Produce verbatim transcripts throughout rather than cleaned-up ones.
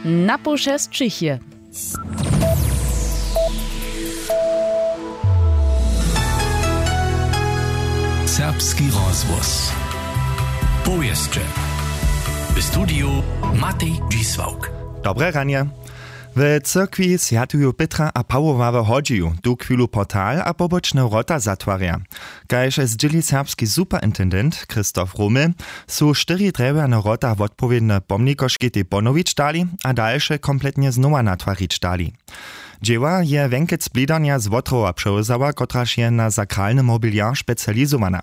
Na poł šesćich je. Serbski rozhłos. Powěsće. W studiju Matej Dźisławk. Dobre ranje. W cyrkwi swjatuju Pětra a Pawoła w Hodźiju tuchwilu portal a pobočne wrota zatwarja. Kaž zdźěli serbski superintendent Christoph Romel, su štyri drjewjane wrota wotpowědne pomnikoškitej ponowić dali a dalše kompletnje znowa natwarić dali. Dźěła je wjenkec blidarnja z Wotrowa přewzała, kotraž je na sakralny mobiliar specializowana.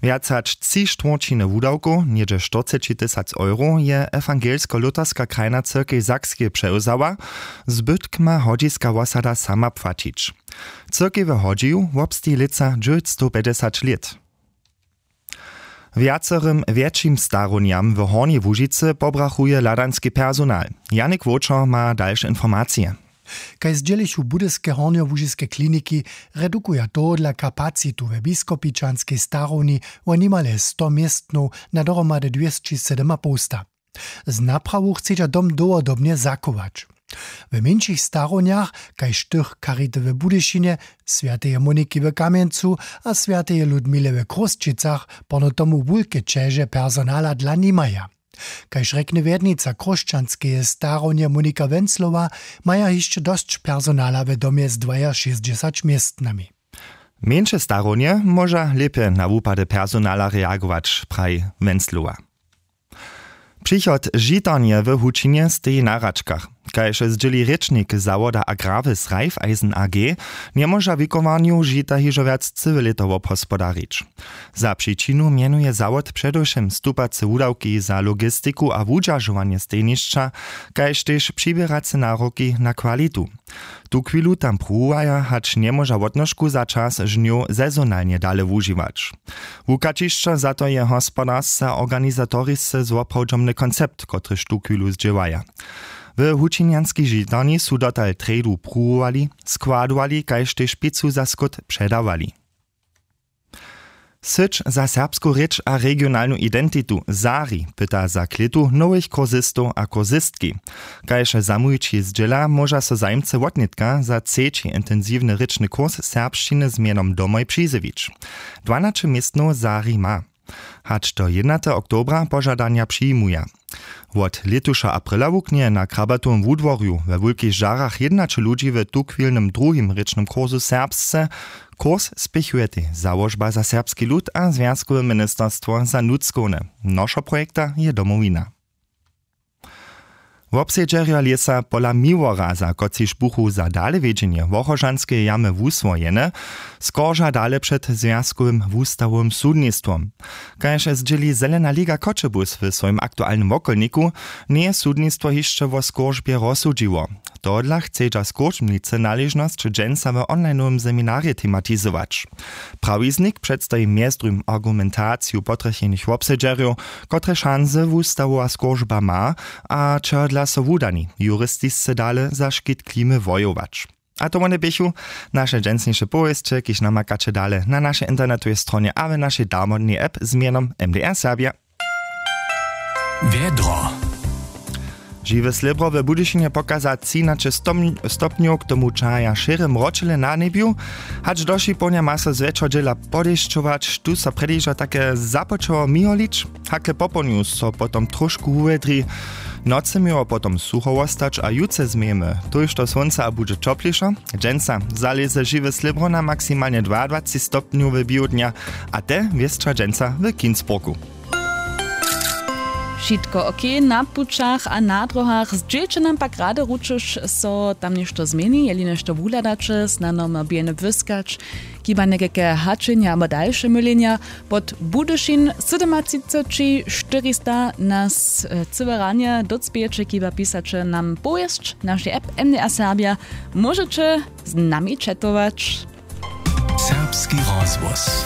Wjac hač tři štwórćiny wudawkow, něhdźe štyrceći tysac euro, je ewangelsko-luterska krajna cyrkej Sakskej přewzała, zbytk ma hodźiska wosada sama płaćić. Cyrkej w Hodźiju wobsteji lětsa dźewjećstowpjećdźesać lět. Wjacerym wjetšim starownjam w Hornjej Łužicy pobrachuje hladanski personal. Janik Wočer ma dalše informacije. Kaž zdźělichu budyske hornjołužiske kliniki, redukuja tohodla kapacitu we biskopičanskej starowni wo nimale sto městnow na dohromady dwěsći sydomapołsta. Z naprawu chcedźa dom dołhodobnje zachować. W mjeńšich starownjach, kaž tych Charity w Budyšinje, swjateje Moniki w Kamjencu a swjateje Ludmile w Chrósćicach, porno tomu wulke ćeže personala dla nimaja. Kaž rjekny wjednica chróšćanskeje starownje Monika Wenzlowa, maja hišće dosć personala w domje z dwajašěsćdźesać městnami. Mjeńše starownje móža lěpje na wupady personala reagować, praji Wenzlowa. Přichod žitarnje w Hučinje steji na hračkach. Kaž zdźěli rěčnik zawoda Agrarwis Raiffeisen A G, njemóža wikowarnju žita hižo wjac cyłe lěto wobhospodarić. Za přičinu mjenuje zawod předewšěm stupace wudawki za logistiku a wudźeržowanje stejnišća, kaž tež přiběrace naroki na kwalitu. Tuchwilu tam pruwowaja, hač njemóža wotnožku za čas žnjow sezonalnje dale wužiwać. Wukaćišćo za to je hospodarsce a organizatorisce zwoprawdźomny koncept, kotryž tuchwilu zdźěłaja. W hučinjanskej žitarni su dotal trjedu pruwowali, składowali kaž tež pěcu za skót předawali. Syć za serbsku rěč a regionalnu identitu Sari pyta za klětu nowych kursistow a kursistki. Kaž zamołwići zdźěla, móža so zajimcy wotnětka za třeći intensiwny rěčny kurs serbšćiny z mjenom Domoj přizjewić. Dwanaće městnow Sari ma. Hač do jědnateho oktobra požadanja přijimuja. Wot lětuša aprila wuknje na Krabatowym wudworju we Wulkich Žarach jědnaće ludźi w tuchwilnym druhim rěčnym kursu serbsce. Kurs spěchuje tež Załožba za serbski lud a Zwjazkowe ministerstwo za nutřkowne. Nošo projekta je Domowina. Wobsedźerjo lěsa pola Miłoraza, kotřiž buchu za dalewjedźenje Wochožanskeje jamy wuswojene, skorža dale před Zwjazkowym wustawowym sudnistwom. Kaž zdźěli Zelena liga Choćebuz w swojim aktualnym wokolniku, njeje sudnistwo hišće wo skóržbje rozsudźiło. Tohodla chcedźa skóržbnicy naležnosć dźensa w onlinowym seminarje tematizować. Prawiznik předstaji mjez druhim argumentaciju potrjechenych wobsedźerjow, kotre šanse wustawowa skóržba ma a čehodla so wudani juristisce dale za škit klimy wojować. A to wone běchu naše dźensniše powěsće, kiž namakaće dale na našej internetowej stronje a w našej darmodnej app z mjenom M D R Serbja. Wjedro. Žiwe slěbro w Budyšinje pokaza třinaće stopnjow, k tomu čahaja šěre mročele na njebju. Hač do šipołnja ma so zwjetšo dźěla podešćować, tu so předewšo take započało miholić. Hakle popołdnju so potom trošku wuwjedri. Nocy měło potom sucho wostać a jutře změjemy tójšto słónca a budźe ćoplišo. Dźensa zalěze žiwe slěbro na maksimalnje dwaadwacci stopnjow w běhu dnja, a te wěsća dźensa w Kinsburgu. Wšitko ok na pućach a na dróhach. Zdźělće nam pak rady, ručuž so tam něšto změni, jeli něšto wuhladaće, snano mobile wyskać, chiba někajke hačenja abo dalše mylenja. Pod Budyšin sydomatřiceći štyrista nas, e, cyłe ranje docpějeće, chiba pisaće nam powěsć w našej app M D R Serbja. Móžeće z nami četować. Serbski rozhłos.